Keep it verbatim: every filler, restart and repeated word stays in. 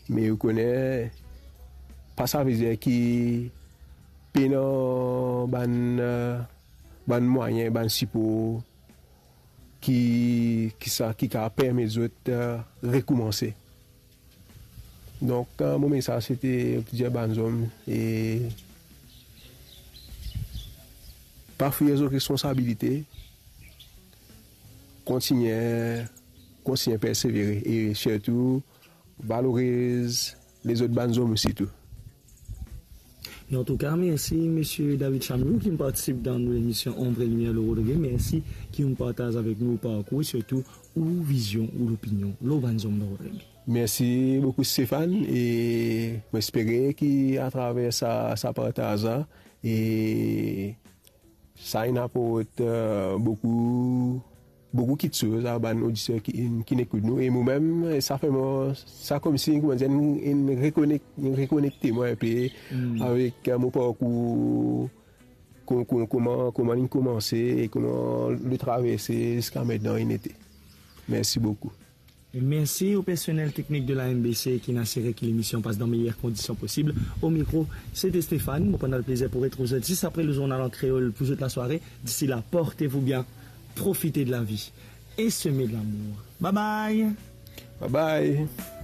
Me ou kone, pa savedir ki pena bann, eh, bann mwayin, bann sipor ki, ki sa, ki kapav permet zot, eh, rekoumanse. Donk, eh, mo mesaz se te pou dir bann zom, e pa fir zot responsabilite, kontigne, kontigne persevere e sirtou valoriz lezot bann zom osi tou. E antouka, mersi, Misie David Chamlou, ki partisip dan nou lemision Ombre Limier, le Rodrigué. Mersi ki ou partaz avek nou ou parkour, sirtou ou vizion, ou lopinion lor bann zom dan Rodrigué. Mersi boukou, Stéphane, e mo espere ki atraver sa, sa partaz la, e sa inn aport, eh, boukou, boukou kiksoz a bann oditer ki, ki ekout nou. E momem, sa fer mwa, sa koumsi, kouma dir, inn, inn rekonek-, inn rekonekte mwa inpe avek, eh, mo parkour, ko-, ko-, kouma, kouma linn koumanse e kouma li traverse ziska aster inn ete. Mersi boukou. E mersi o personel teknik de la M B C ki inn asire ki lemision pas dan meyer kondision posib. O mikro, se te Stéphane. Mo pou pran plezir pou retrouv zot zis apre le zournal an kreol pou zot lasware. D'ici là, portez-vous bien, profitez de la vie et semez de l'amour. Bye bye. Bye bye.